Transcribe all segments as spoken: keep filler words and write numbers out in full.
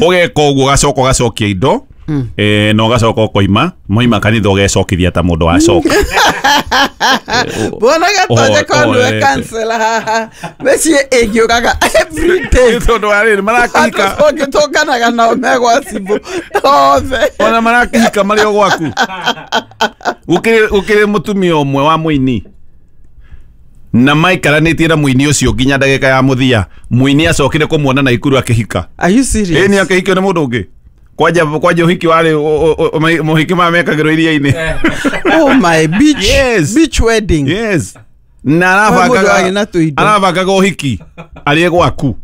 Ũgeka ũguo ũgacoka ũgacokia indo eh no gacoka ũkoima moima kanitha ũgecokithia ta mũndũ wacoka. Bwana Gatonye ko niwe kansela haha mĩciĩ ĩngĩũraga every day tondũ wa rĩrĩ marakĩhika ũngĩtũnganaga nao megwa cibũ othe ona marakĩhika marĩ o gwaku. Gũkĩrĩ gũkĩrĩ mũtumia ũmwe wa mũini na maikaranĩtie na mũini ũcio nginya ndagĩka ya mũthia mũini acokire kũmuona na ikuru akĩhika. Are you serious? Ĩĩ nĩ akĩhikio nĩ mũndũ ũngĩ. Kwanja kwanja ũhiki warĩ mũhiki mamekagĩrwo iria-inĩ. Oh my beach. Yes. Beach wedding. Yes. Na arabangaga arabangaga ũhiki arĩ gwaku.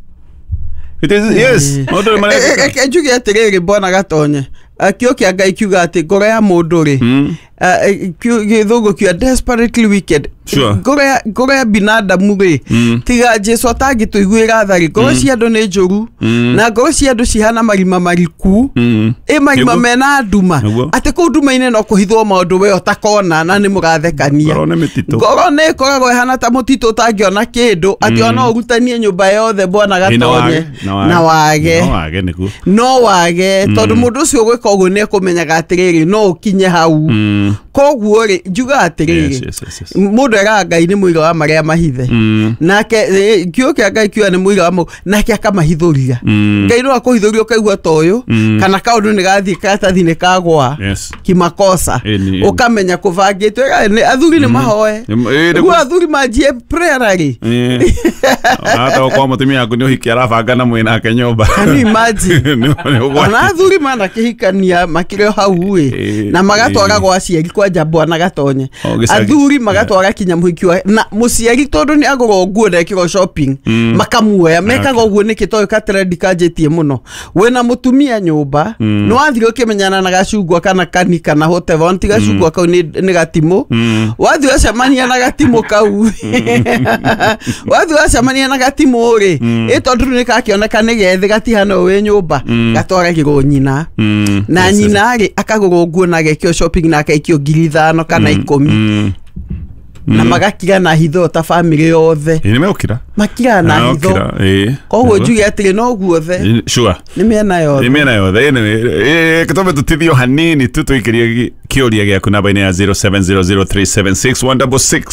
It is yes. Maũndũ mareka. Njuge atĩrĩrĩ Bwana Gatonye kĩo kĩa Ngai kiuga atĩ ngoro ya mũndũ rĩ gĩthũngũ kiuga desperately wicked. Ngoro ya ngoro ya binadamu rĩ tiga Jesu atangĩtũiguĩra tha rĩ ngoro cia andũ nĩ njũru na ngoro cia andũ cihana marima mariku ĩ marima mena nduma atĩ kũu nduma-inĩ no kũhithwo maũndũ we ũtakona na nĩ mũgathekania. Ngoro nĩ mĩtitũ. Ngoro nĩ ĩkoragwo ĩhana ta mũtitũ ũtangĩona kĩndũ atĩ ona ũrutanie nyũmba yothe Bwana Gatonye na wage no wage tondũ mũndũ ũcio ũgwĩka ũguo nĩ ekũmenyaga atĩrĩrĩ no ũkinye hau. Koguo rĩ njuga atĩrĩrĩ mũndũ eraga Ngai nĩ mũira wa marĩa mahithe nake kĩo kĩa Ngai kiuga nĩ mũira wa mau nake akamahithũria. Ngai no akũhithũria ũkaigua ta ũyũ kana kaũndũ nĩ gathiĩ karatathi nĩ kagwa kimakosa ũkamenya kũbangĩtwo. Athuri nĩ mahoe rĩu athuri manjie prayer rĩ hata kwa mũtumia waku nĩ ũhiki arabanga na mwĩ nake nyũmba. Can you imagine? Ona athuri manakĩhikania makĩrĩ o hau ĩ na magatwara gwa aciari kwanja Bwana Gatonye athuri magatwara kinya mũhiki wa na mũciari tondũ nĩ agũrwo nguo na ekĩrwo shopping makamuoya mekaga ũguo nĩkĩ tondũ ka trend kanjĩtie mũno wĩna mũtumia nyũmba nĩ wathire ũkĩmenyana na gacungwa kana kani kana whatever ti gacungwa kau nĩ gatimũ wathiĩ wacemania na gatimũ kau wathiĩ wacemania na gatimũ rĩ ĩ tondũ nĩ kakĩoneka nĩ gethĩ gatihana ũũ wĩ nyũmba gatwaragĩrwo nyina na nyina rĩ akagũrwo nguo na agekĩrwo shopping na akaikio ngiri ithano kana ikũmi na magakira na hitho ta family yothe. Ĩ nĩ makira na hitho koguo njuge atĩrĩ no guothe sure nĩ mĩena yothe nĩ mĩena yothe. Ĩ gĩtũme tũtithio hanini tu tũikĩrie kĩũria gĩaku namba-inĩ ya zero seven zero zero three seven six one six six.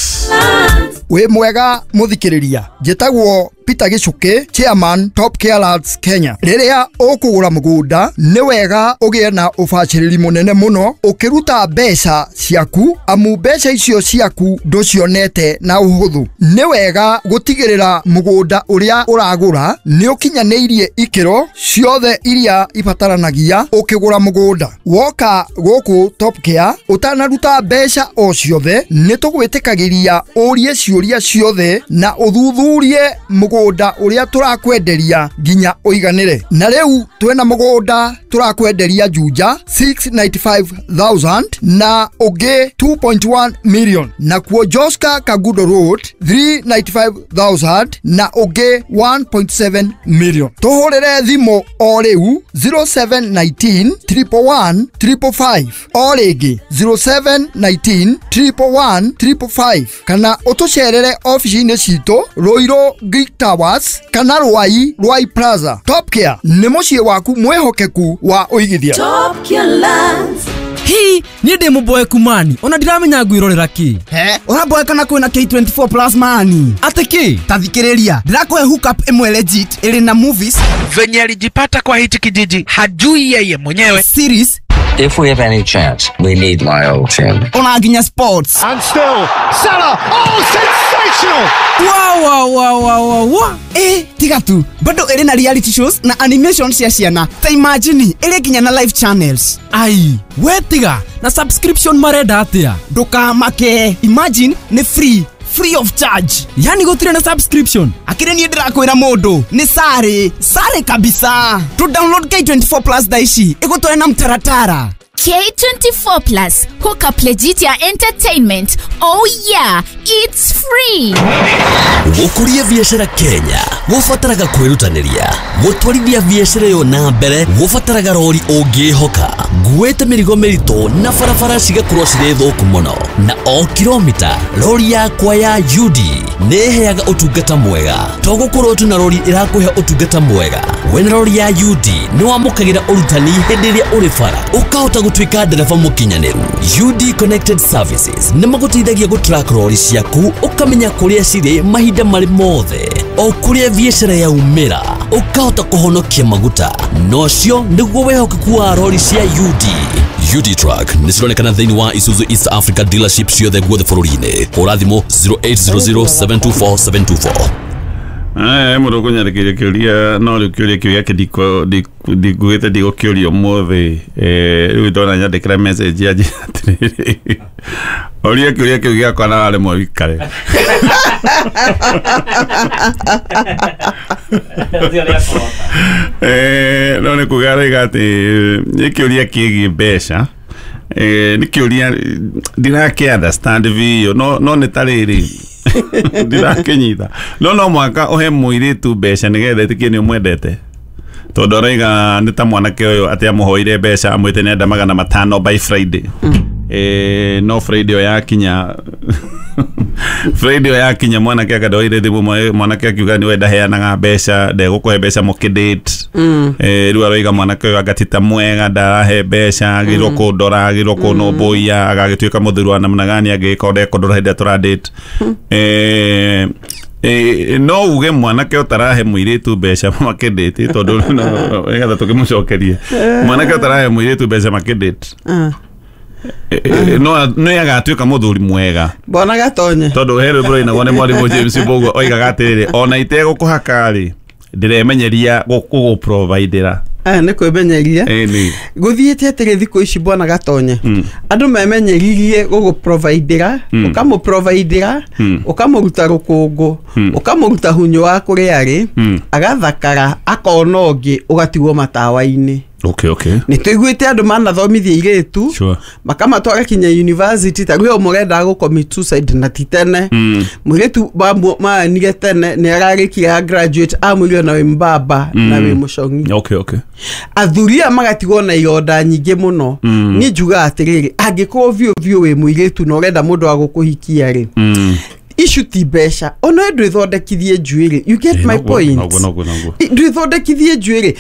Wĩ mwega mũthikĩrĩria njĩtagwo Peter Gichuki, chairman Top Care Lands Kenya. Rĩrĩa ũkũgũra mũgũnda nĩ wega ũgĩe na ũbacĩrĩri mũnene mũno ũkĩruta mbeca ciaku amu mbeca icio ciaku ndũcionete na ũhũthũ. Nĩ wega gũtigĩrĩra mũgũnda ũrĩa ũragũra nĩ ũkinyanĩirie ikĩro ciothe iria ibataranagia ũkĩgũra mũgũnda. Woka gũkũ Top Care ũtanaruta mbeca o ciothe nĩ tũgwĩtĩkagĩria ũrie ciũria ciothe na ũthuthurie mũgũnda ũrĩa tũrakwenderia nginya ũiganĩre. Na rĩu twĩna mũgũnda tũrakwenderia Juja six ninety five thousand na ũngĩ two point one million nakuo Joska Kagudo Road three ninety five thousand na ũngĩ one point seven million. Tũhũrĩre thimũ o rĩu zero seven nineteen triple one triple five o rĩngĩ zero seven nineteen triple one triple five kana ũtũcerere ofici-inĩ citũ Ruiru Greek Towers kana Ruai Ruai Plaza. Top Care nĩ mũciĩ waku mwĩhokeku wa ũigithia. Top Care Lands. Hi, niĩ ndĩ mũboeku mani ona ndiramenya ngwĩrorera kĩ. He, ũraboeka na kwĩna K twenty four plus mani. Atĩ kĩ? Ta thikĩrĩria, ndĩrakũhe hookup ĩmwe legit ĩrĩ na movies. Venye alijipata kwa hichi kijiji hajui yeye mwenyewe. Series. If we have any chance, we need Lyle Chin. Ona nginya sports. And still, Salah, oh, sensational! Wow, wow, wow, wow, wow, wow. Eh, tiga tu. Bado ĩrĩ na reality shows na animation cia ciana. Ta imagine, ĩrĩ nginya na live channels. Ai, we tiga, na subscription marenda atĩa? Ndũkamake. Imagine, nĩ free. Free of charge. Yani gũtirĩ na subscription. Akĩrĩ niĩ ndĩrakwĩra mũndũ nĩ sare sare kabisa. To download K twenty four plus thaa ici ĩgũtware na mtaratara. K twenty four plus hook up legit ya entertainment. Oh yeah, it's free. Gũkũria biacara Kenya gũbataraga kwĩrutanĩria, gũtwarithia biacara ĩyo na mbere gũbataraga rori ũngĩhoka. Nguĩte mĩrigo mĩritũ na barabara cigakorwo cirĩ thũku mũno. Na o kilomita rori yakwa ya U D nĩ ĩheaga ũtungata mwega. To gũkorwo tu na rori ĩrakũhe ũtungata mwega. Wĩna rori ya U D nĩ wamũkagĩra ũrutani hĩndĩ ĩrĩa ũrĩ bara, ũkahota gũtuĩka ndereba mũkinyanĩru. U D Connected Services nĩ magũteithagia gũtrack rori ciaku, ũkamenya kũrĩa cirĩ mahinda marĩ mothe, o kũrĩa biacara yaumĩra, ũkahota kũhonokia maguta. Nocio nĩguo wĩhokeku wa rori cia U D. U D Truck nĩ cironekana thĩinĩ wa Isuzu East Africa dealership ciothe guothe bũrũri-inĩ. Hũra thimũ zero eight zero zero seven two four seven two four. Eh mũndũ kũnyandĩkĩria kĩũria no rĩu kĩũria kĩu gĩake ndikuĩte ndigũkĩũria ũmũthĩ. Eh rĩu ndona nyandĩkĩra message yanjĩra atĩrĩrĩ, ũria kĩũria kĩu gĩakwa na waremwo wĩikare. Eh no nĩ kuga arauga atĩ nĩ kĩũria kĩgiĩ mbeca. Eh nĩ kĩũria ndirakĩ understand biũ, no no nĩ ta rĩrĩ ndirakĩnyita. No no mwaka ũhe mũirĩtu mbeca nĩgetha ĩtĩkie nĩ ũmwendete, tondũ arauga nĩ ta mwanake ũyũ atĩ amũhoire mbeca amwĩte nĩenda magana matano by Friday. Eh no Friday ĩyo yakinya Friday ĩyo yakinya mwanake akandoire thimũ, mwanake akiuga nĩwe ndaheanaga mbeca, ndegũkũhe mbeca mũkĩdate. Eh rĩu aroiga mwanake ũyũ anga ti ta mwega, ndarahe mbeca, agĩrwo kũndora, agĩrwo kũnũmbũiya, agagĩtuĩka mũthuri wa namna gani angĩgĩkorwo ndekũndora hĩndĩ ĩrĩa tũradate. Eh Eh, no uge mwanake ũtarahe mũirĩtu mbeca makĩdate, tondũ nĩgetha tũkĩmũcokerie mwanake ũtarahe mũirĩtu mbeca makĩdate no nĩ agatuĩka mũthuri mwega. Bwana Gatonye, tondũ he rwĩmbo rũinagwo nĩ mwarimũ James Mbũgua oigaga atĩrĩrĩ, ona itegũkũhaka rĩ ndĩremenyeria gũkũprovidera. Eh nĩ kwĩmenyeria gũthiĩte atĩrĩ thikũ ici Bwana Gatonye, andũ memenyeririe gũgũprovidera, ũkamũprovidera, ũkamũruta rũkũngũ, ũkamũruta hunyũ wa kũrĩa arĩ, agathakara, akona ũngĩ, ũgatigwo matawa-inĩ. Okay, okay. Nĩ tũiguĩte andũ manathomithia airĩtu, sure, makamatwara kinya university, ta rĩu mũrendaga gũ commit suicide na ti tene. Mũirĩtu maanire tene nĩ ararĩkia graduate, amwĩrire na wĩ mbaba na wĩ mũcong'i. Okay, okay. Athuri aya magatigwo na ironda nyingĩ mũno. Niĩ njugaga atĩrĩrĩ, angĩkorwo biũ biũ wĩ mũirĩtu na ũrenda mũndũ wa gũkũhikia rĩ, issue ti mbeca, ona ndwĩthondekithie njuĩrĩ. You get my point? Ndwĩthondekithie njuĩrĩ,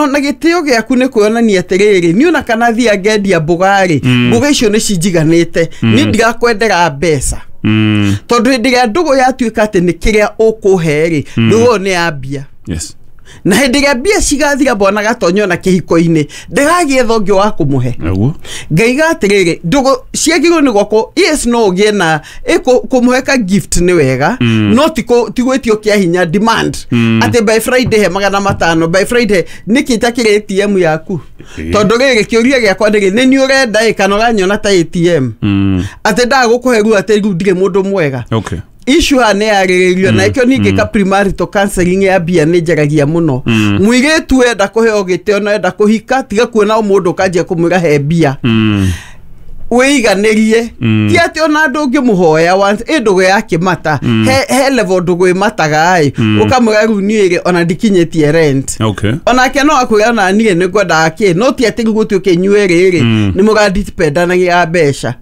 ona gĩtĩo gĩaku nĩ kuonania atĩrĩrĩ, niĩ ona kana thiĩ ngendia mboga rĩ, mboga icio nĩ cinjiganĩte, niĩ ndirakwendera mbeca. Tondũ hĩndĩ ĩrĩa ndũgũ yatuĩka atĩ nĩ kĩrĩa ũkũhe rĩ, ndũgũ ĩyo nĩ ya mbia. Yes. Na hĩndĩ ĩrĩa mbia cigathira Bwana Gatonye ona kĩhiko-inĩ, ndagagĩetha ũngĩ wa kũmũhe. Ngaiga atĩrĩrĩ, ndũgũ ciagĩrĩirwo nĩ gwakwo, yes no ũgĩe na kũmũhe ka gift nĩ wega, no ti gwĩtio kĩa hinya demand atĩ by Friday he magana matano, by Friday nĩkĩ itakĩrĩ A T M yaku. Tondũ rĩrĩ kĩũria gĩakwa nĩ nĩ niĩ ũrenda ĩ kana ũranyona ta A T M, atĩ ndagũkũhe rĩu atĩ rĩu ndirĩ mũndũ mwega. Okay. Issue haha nĩ yarĩrĩirio na ĩkĩo ningĩ ka premarital counseling ya mbia nĩ njaragia mũno. Mũirĩtu enda kũheo gĩtĩo na enda kũhika, tiga kuona mũndũ ũkanjia kũmwĩra he mbia. Wĩiganĩrie, ti atĩ ona andũ ũngĩmũhoya once ĩ ndũgũ ya kĩmata, he he level ndũgũ ĩmataga ĩ, ũkamwĩra rĩu niĩ rĩ ona ndikinyĩtie rent. Okay. Onake no akwĩra ona niĩ nĩ ngwendaga kĩ, no ti atĩ rĩu gũtuĩke inyuĩ rĩ nĩ mũradipendanagia mbeca.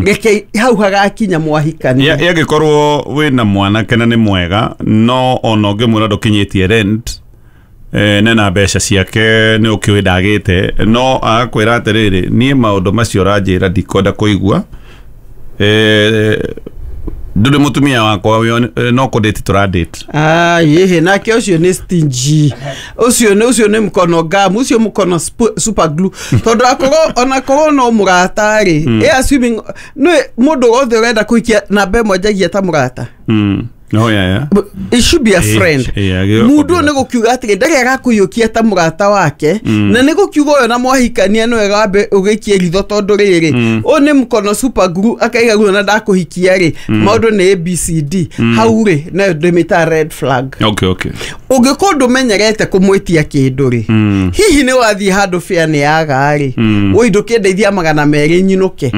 Reke hau hagakinya mwahikania. Yangĩkorwo wĩna mwanake na nĩ mwega, no ona ũngĩmwĩra ndũkinyĩtie rent, eh nena mbeca ciake nĩ ũkĩũĩ ndagĩte, no agakwĩra atĩrĩrĩ, niĩ maũndũ macio ũranjĩra ndikwenda kũigua, eh ndũrĩ mũtumia wakwa no kũdate tũradate. Ah yehe, nake ũcio nĩ stingy, ũcio nĩ ũcio nĩ mkono gum, ũcio mkono super glue, tondũ akorwo ona korwo no mũrata rĩ, ĩ assuming nĩ mũndũ wothe ũrenda kũhikia namba ĩmwe njagia ta mũrata. No, yeah, yeah. But it should be a friend. Mundu nĩ gũkiuga atĩrĩ ndarĩ arakũiyũkia ta mũrata wake, na nĩ gũkiuga ũyũ na mwahikania nĩ wega wambe ũgĩikie ritho, tondũ rĩrĩ ũyũ nĩ mkono super glue, akaiga rĩu ona ndakũhikia rĩ, maũndũ nĩ A B C D. Hau rĩ nayo ndĩmĩtaga red flag. Okay, okay. Ũngĩkorwo ndũmenyerete kũmwĩtia kĩndũ rĩ, hihi nĩ wathiĩ handũ fare nĩ yaga rĩ, woi ndũkĩndeithia magana merĩ nyinũke,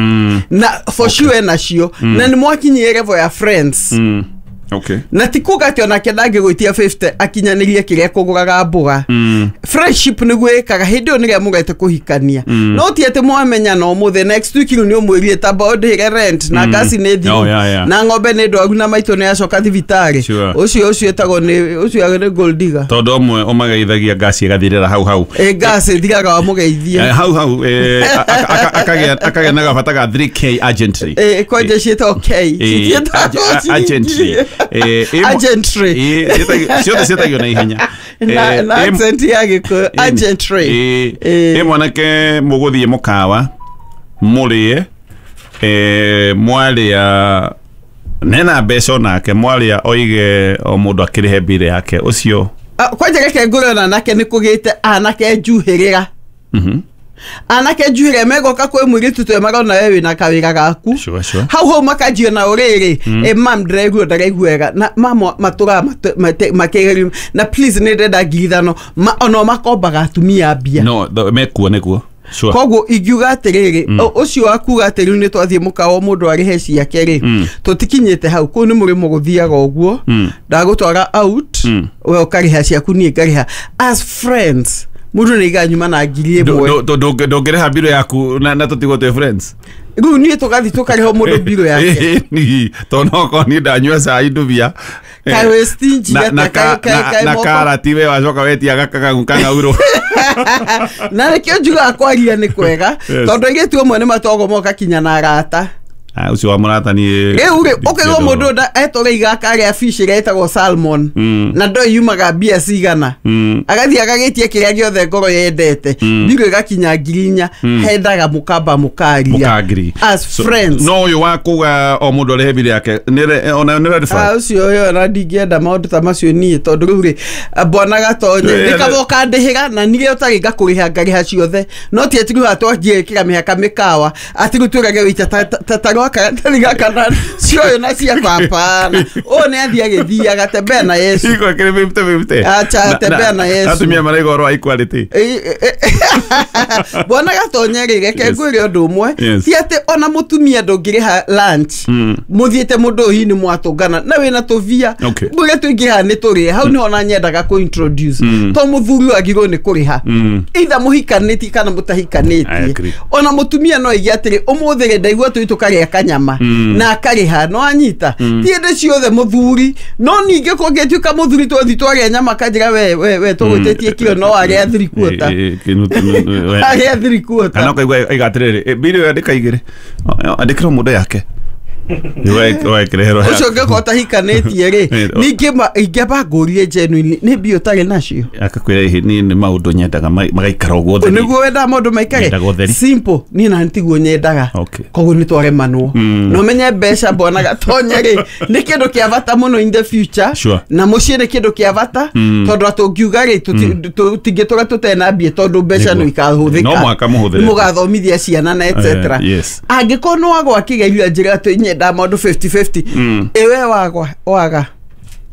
na for sure nacio, na nĩ mwakinyire level ya friends. Okay. Na ti kuga atĩ onake ndangĩgwĩtia fifty akinyanĩrie kĩrĩa kũgũraga mboga. Mm. Friendship nĩguo ĩkaga hĩndĩ ĩyo nĩrĩa mũgete kũhikania. Mm. No ti atĩ mwamenyana ũmũthĩ next week rĩu nĩ ũmwĩrire tamba ũndĩhĩre rent na Mm. ngasi nĩ thiru Oh, yeah, yeah. na ng'ombe nĩ ndwaru na maitũ nĩ acoka thibitarĩ. Sure. Ũcio ũcio ĩtagwo nĩ ũcio nĩ gold digger. Tondũ ũmwe ũmageithagia ngasi ĩgathirĩra hau hau. Ĩ ngasi ĩthiraga wamũgeithia. Eh, hau hau eh, a- a- a- akagĩa akagĩa na gabata ga three K urgently. Ĩ kwanja ciĩtagwo K. Eh, Citiĩtagwo ag- urgently. ciringi. Eh, ĩ mo- Urgently. Eh, ciĩtagio- ciothe ciĩtagio na ihenya. Na Eh, na ĩ- accent ya Gĩkũyũ urgently. ĩ ĩ mwanake mũgũthiĩ mũkawa mũrĩe eh, mwarĩa nena mbeca onake mwarĩa oige o mũndũ akĩrĩhe mbirũ yake ũcio. Ah, kwanja reke ngũre ona anake nĩ kũgĩte anake njuhĩrĩra. Mhm. Anake njuhĩrĩra megoka kwĩ mũirĩtu twe marona we wĩna kawĩra gaku. Sure, sure. Hau hau makanjia na ũrĩrĩ Mm. ĩ mam ndĩraigua ndaraigua wega na mama matũraga makĩgerio na please nĩ ndĩrenda ngiri ithano Ma- ona makombaga atumia mbia. No th- mekuo nĩguo. Sure. Koguo ingiuga atĩrĩrĩ Mm. ũ- ũcio wa kuga atĩ rĩu nĩ twathiĩ mũkawa mũndũ arĩhe ciake rĩ Mm. tũtikinyĩte hau kũu nĩ mũrĩmo gũthiaga ũguo. Mm. Ndagũtwara out Mm. we ũkarĩha ciaku niĩ ngarĩha as friends mũndũ nĩ aigaga nyuma na ngiri Ndũ- ĩmwe. ndũ- ndũ- ndũngĩrĩha mbirũ yaku na na tũtigwo twĩ friends. Rĩu niĩ tũgathiĩ tũkarĩha mũndũ mbirũ yake. Ĩni, tondũ no okorwo niĩ ndanyua cai ndubia Kaĩ wĩ stingy na, atĩa? na, ka, Kaĩ- kaĩ- na, kaĩ na moko- karati we wacoka wetia gakagagu kang'aurũ. Na nĩkĩo njugaga kwaria nĩ kwega Yes. tondũ airĩtu amwe nĩ matwagwo moka kinya na arata. Ah, ũcio wa mũrata niĩ Rĩu rĩ ũkaigua mũndũ nda- etũra akarĩa fish ĩrĩa ĩtagwo salmon Mm. na ndo yumaga mbia cigana. Mm. Agathiĩ agagĩtia kĩrĩa gĩothe ngoro yendete Mm. mbirũ ĩgakinya ngiri inya Mm. hendaga mũkamba mũkaria Mũkangiri. as So, friends. no ũyũ wa kuga o mũndũ arĩhe mbirũ yake nĩ re- ona nĩ red Ah, flag. ũcio ũyũ ona ndingĩenda maũndũ ta macio niĩ tondũ rĩu rĩ bwana gatonye Eh, nĩ kaba ũkandĩhĩra na nirĩ ũtarĩ ngakũrĩha ngarĩha ciothe no ti atĩ rĩu haha twanjie ĩkĩra mĩhaka mĩkawa atĩ rĩu twĩrage wĩita ta- ta- ta- ta rwaka tarĩ gaka na cioyo na ciakwa hapana ũyũ nĩ athiĩ agĩthiaga tembea na Yesu. Iko kĩrĩ fifty fifty. Acha, Na- tembea na Yesu. Atumia maraiga ũhoro wa equality. Ĩ- ĩ- ĩ- bwana gatonye rĩ reke Yes. ngwĩre ũndũ ũmwe Yes. ti atĩ ona mũtumia ndũngĩrĩha lunch Mm. mũthiĩte mũndũ ũyũ hihi nĩ mwatũngana na wĩna tũbia Okay. mũrĩa tũingĩhaga nĩ tũrĩe hau nĩho na nyendaga kũ introduce Mm. to mũthuri wagirwo nĩ kũrĩha Mm. either mũhikanĩtie kana I mũtahikanĩtie agree. ona mũtumia no aige atĩrĩ ũmũthĩ rĩ ndaigua tũi tũkarĩa kanyama Mm. na akarĩha no anyita Mm. ti hĩndĩ ciothe mũthuri no ningĩ kũngĩtuĩka mũthuri twathi twarĩa nyama kanjĩra we we we tũgwĩtĩtie kiro no arĩa three quarter. Eh, eh, kĩnu- kĩnu- we- Arĩa three quarter. Kana ũkaigua aiga atĩrĩrĩ "Eh, mbirũ ĩyo andĩka igĩrĩ andĩkĩra mũndũ yake ũgekĩreherwo ũcio ũngĩkorwo ũtahikanĩtie rĩ Eh, o- ningĩ ma- ingĩamba ngũrie genuinely nĩ mbia ũtarĩ nacio akakwĩra ĩhĩ niĩ nĩ maũndũ nyendaga ma- magaikara ũguo ũtheri." nĩguo wendaga maũndũ maikare Nyendaga ũtheri. simple niĩ na tiguo nyendaga Okay. koguo nĩ twaremanwo Mm. na ũmenye mbeca mbona gatonye rĩ nĩ kĩndũ kĩa bata mũno in the future Sure. na mũciĩ nĩ kĩndũ kĩa bata Mm. tondũ atũngiuga rĩ tũti- tũtingĩtũra tũtena mbia tondũ mbeca Nĩguo. no ikahũthĩka No mũhaka mũhũthĩre. mũgathomithia ciana na etc Eh, yes. angĩkorwo nĩ wagwa kĩgerio njĩra atĩ nyendaga maũndũ fifty fifty Mm. ĩwe wagwa waga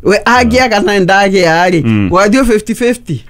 we angĩaga na ndagĩa rĩ Mm. wathiĩ fifty fifty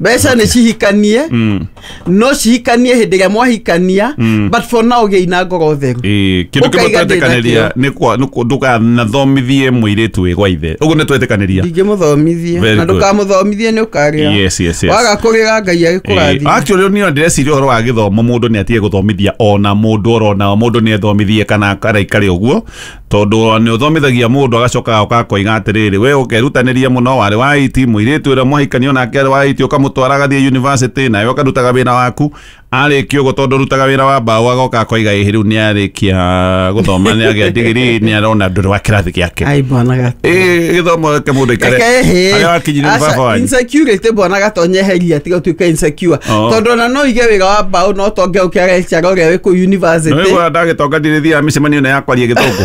mbeca nĩ cihikanie Mm. no cihikanie hĩndĩ ĩrĩa mwahikania Mm. but for now gĩi na ngoro theru Ĩĩ, kĩndũ kĩmwe Ũkaiga ndĩ twetĩkanĩria nakĩo. nĩ kwa- nĩ kwa- ndũkanathomithie mũirĩtu wĩ gwa ithe ũguo nĩ twetĩkanĩria ndingĩmũthomithie Very na good. ndũkamũthomithie nĩ ũkarĩra Yes, yes, yes. waga kũrĩra ngai Ĩĩ, agĩkũrathima actually niĩ ndĩreciria ũhoro wa gĩthomo mũndũ nĩ atige gũthomithia ona mũndũ orona mũndũ nĩ ethomithie kana araikare ũguo tondũ nĩ ũthomithagia mũndũ agacoka agoka akoiga atĩrĩrĩ we ũkerutanĩria mũno warĩ wa I T mũirĩtu ũrĩa mwahikania onake arĩ wa I T ũkamũtwara agathiĩ university nawe ũkarutaga wĩra waku arĩkia ũguo tondũ ũrutaga wĩra wa mbaũ agoka akoiga ĩhĩ rĩu nĩ arĩkia gũthoma nĩ agĩa digiri nĩ arona ndũrĩ wa kĩrathi gĩake ai bwana gato Ĩĩ, gĩthomo reke mũndũ aikare Reke harĩa wakinyire nĩ baba wanyu insecurity bwana gatonye heria tiga ũtuĩke insecure Oh. tondũ ona no ige wĩra wa mbaũ no tonge ũkĩaga lecturer ũrĩa wĩ kũu university Nĩwĩgua ndagĩtonga ndirĩthiaga mĩcemanio ĩno ya kwaria gĩthũngũ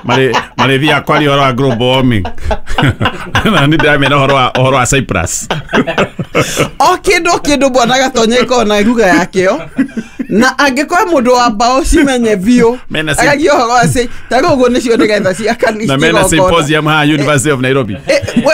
Marĩ- marĩthiaga kwaria ũhoro wa global warming na nĩ ndĩramera ũhoro wa ũhoro wa Cyprus o kĩndũ o kĩndũ bwana gatonye ĩkoragwo na ruga yakĩo Na angĩkorwo mũndũ wa mbaũ cimenye biũ agagia ũhoro wa ci ta rĩu ũguo nĩcio nĩgetha cia kanitha na mena symposium ha University of Nairobi.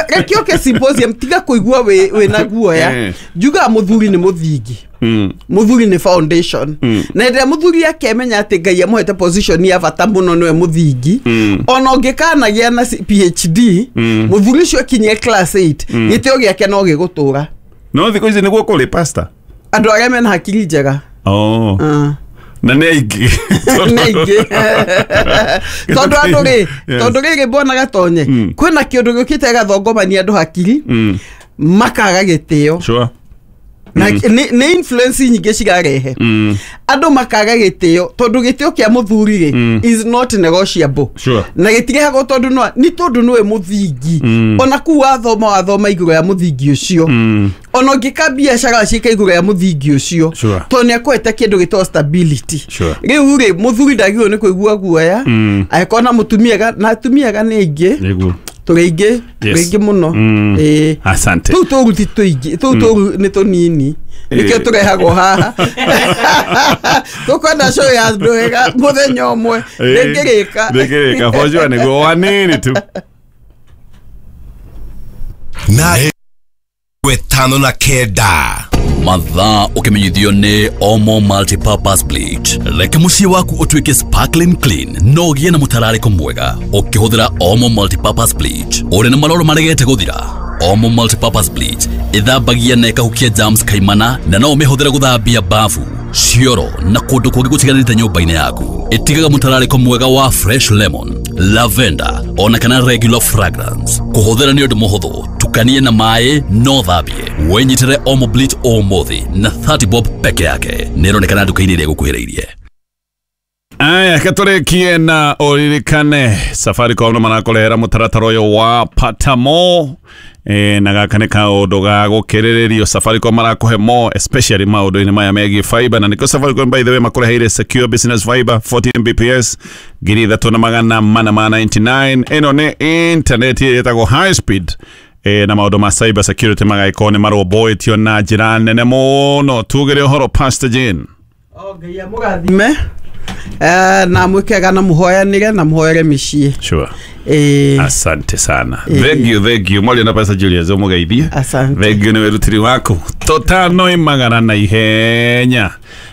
Reke ũke symposium tiga kũigua wĩ na guoya. Njugaga mũthuri nĩ mũthingi. Mm. Muthuri ni foundation. Mm. Na ĩrĩa muthuri akemenya atĩ Ngai amũhete position ya bata mũno nĩwe mũthingi. Mm. Ona ũngĩkanagĩa na P H D, mm. muthuri ũcio akinyie class eight, mm. gĩtĩo gĩake no gĩgũtũra. No thikũ ici nĩguo kũrĩ pastor. Andũ arĩa mena hakiri njega. Oh. Uh. Na nĩ aingĩ. Nĩ aingĩ. Tondũ andũ rĩ, tondũ rĩrĩ mbona Gatonye, mm. kwĩna kĩũndũ gĩũkĩte gĩgathongomania andũ hakiri, mm. makaga gĩtĩo. Sure. Na mm. nĩ influence nyingĩ cigarehe. Mm. Andũ makaga gĩtĩo tondũ gĩtĩo kĩa mũthuri rĩ mm. is not negotiable. Sure. Na gĩtirehagwo tondũ no nĩ tondũ nĩwe mũthingi. Mm. Ona kuu wathoma wathoma igũrũ ya mũthingi ũcio. Mm. Ona ũngĩka biacara ciĩka igũrũ ya mũthingi ũcio. Sure. Tondũ nĩakũhete kĩndũ gĩtagwo stability. Sure. Rĩu rĩ mũthuri ndagĩrĩirwo nĩ kũigua guoya. Mm. Angĩkorwo na mũtumia na atumia ega nĩ aingĩ. Nĩguo. Tũrĩ aingĩ mũno. Mm. Ĩĩ. Asante. Tũu tũru ti tũingĩ, tũu tũru nĩ tũnini. Nĩkĩo tũrehagwo haha. Tũkwenda show ya andũ ega mũthenya ũmwe. Ndĩngĩrĩka. Ndĩngĩrĩka for sure nĩguo wanini tu. Na wetano na kenda. Mathaa ukimenyithio nĩ Omo Multipurpose Bleach. Reke mũciĩ waku ũtuĩke sparkling clean no ũgĩe na mũtararĩko mwega ũkĩhũthĩra Omo Multipurpose Bleach. Ũrĩ na maroro maregete gũthira. Omo Multipurpose Bleach ĩthambagia na ĩkahukia germs kaimana na no ũmĩhũthĩre gũthambia bafu, cioro na kũndũ kũngĩ gũtiganĩte nyũmba-inĩ yaku. Ĩtigaga mũtararĩko mwega wa fresh lemon, lavender ona kana regular fragrance. Kũhũthĩra nĩ ũndũ mũhũthũ, tukanie na maĩ no thambie. Wĩnyitĩre Omo Bleach ũmũthĩ na thirty bob peke yake. Nĩĩronekana nduka-inĩ ĩrĩa ĩgũkuhĩrĩirie. Aya katũrĩkie na ũririkane Safaricom no marakũrehera mũtaratara ũyũ wa Patamo. E, na gaka nĩ kaũndũ ga gũkĩrĩrĩrio. Safaricom marakũhe more especially maũndũ-inĩ maya megiĩ fiber, na nĩkĩo Safaricom by the way makũreheire secure business fiber forty M B P S ngiri ithatũ na magana mana ma ninety-nine. Ĩno nĩ internet ĩtagwo high speed e, na maũndũ ma cyber security magagĩkorwo nĩ marũmbũĩtio na njĩra nene mũno. Tugĩre ũhoro Pastor Jane. Oh, Ngai amũrathime. Eh, na mwikega na muhoyanire na muhoere mĩciĩ. Sure. Eh, asante sana. Eh. Thank you, thank you. Mwali na Pastor Julius umugeithie. Asante. Thank you nĩ wĩrutĩri waku. Tũtano imagana na ihenya.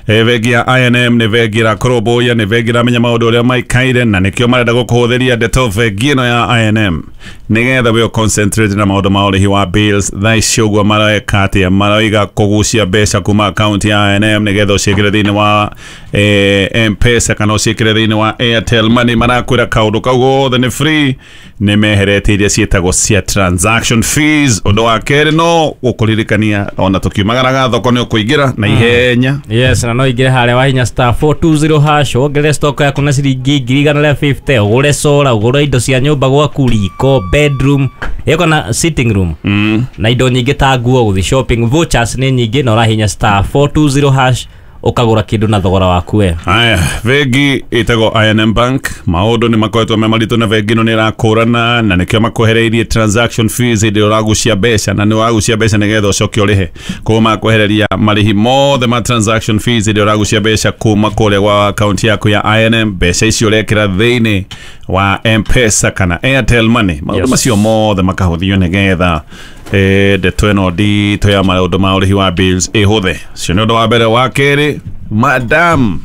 E, bengi ya I N M nĩ bengi ĩrakũrũmbũiya, nĩ bengi ĩramenya maũndũ ũrĩa maikaire na nĩkĩo marenda gũkũhũthĩria ndeto bengi ĩno ya I N M nĩgetha we concentrate na maũndũ ma ũrĩhi wa bills. Thaa ici ũguo mareka atĩa? Maroiga kũgucia mbeca kuma akaunti ya I N M nĩgetha ũciĩkĩre thĩinĩ wa eh, M-Pesa kana ũciĩkĩre thĩinĩ wa Airtel Money. Marakwĩra kaũndũ kau gothe nĩ free, nĩ meheretie iria ciĩtagwo cia transaction fees. Ũndũ wa kerĩ no gũkũririkania ona tũkiumagaraga thoko nĩ ũkũingĩra na ihenya. Yes, na no ingĩre harĩa wahinya star four two zero hash wongerere stock yaku na ciringi ngiri igana rĩa fifty, ũgũre solar, ũgũre indo cia nyũmba gwaku, riko, bedroom ĩko na sitting room mm. na indo nyingĩ ta nguo, gũthiĩ shopping, vouchers nĩ nyingĩ na ũrahinya star four two zero hash ũkagũra kĩndũ na thogora waku we. Aya, bengi ĩtagwo I N M Bank. Maũndũ nĩ makoretwo me maritũ na bengi ĩno nĩ ĩrakũrana na nĩkĩo makwehereirie transaction fees hĩndĩ ĩrĩa ũragucia mbeca, na nĩ ũragucia mbeca nĩgetha ũcoke ũrĩhe. Koguo makwehereria marĩhi mothe ma transaction fees hĩndĩ ĩrĩa ũragucia mbeca kuma kũrĩa gwa akaunti yaku ya I N M. Mbeca icio ũrekĩra thĩinĩ wa M-Pesa kana Airtel Money. Maũndũ Yes. macio mothe makahũthio nĩgetha eh, ndeto ĩno nditũ ya maũndũ ma ũrĩhi wa bills ĩhũthe. Ũcio nĩ ũndũ wa mbere. Wa kerĩ, madam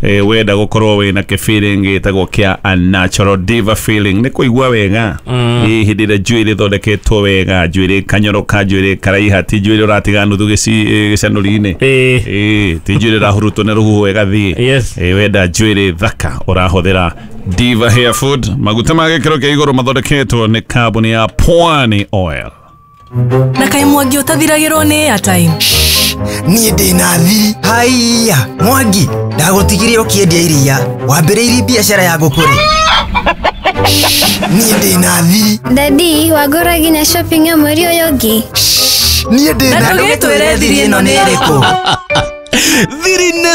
eh, wenda gũkorwo wĩna kĩ-feeling gĩtagwo kĩa a natural diva feeling, nĩ kũigua wega mm. Hĩndĩ ĩrĩa njuĩrĩ ĩthondeketwo wega, njuĩrĩ kanyoroka, njuĩrĩ karaiha, ti njuĩrĩ ũratiga nuthu gĩcanũri-inĩ, eh, ti njuĩrĩ ĩrahurutwo nĩ rũhuho ĩgathiĩ. Yes. Eh, wenda njuĩrĩ thaka ũrahũthĩra Diva Hair Food, maguta ma gĩkĩro kĩa igũrũ mathondeketwo nĩ kambuni ya Pwani Oil. Na kaĩ Mwangi ũtathiragĩrwo nĩ airtime? Niĩ ndĩ na thiri. Haiya Mwangi, ndagũtigire ũkĩendia iria, wambĩrĩirie biacara ya ngũkũ rĩ? Niĩ ndĩ na thiri. Dadi, wagũra nginya shopping ya mweri ũyũ ũngĩ? Niĩ ndĩ na Na ndũgĩtwĩre thiri ĩno nĩ ĩrĩkũ? Thiri nĩ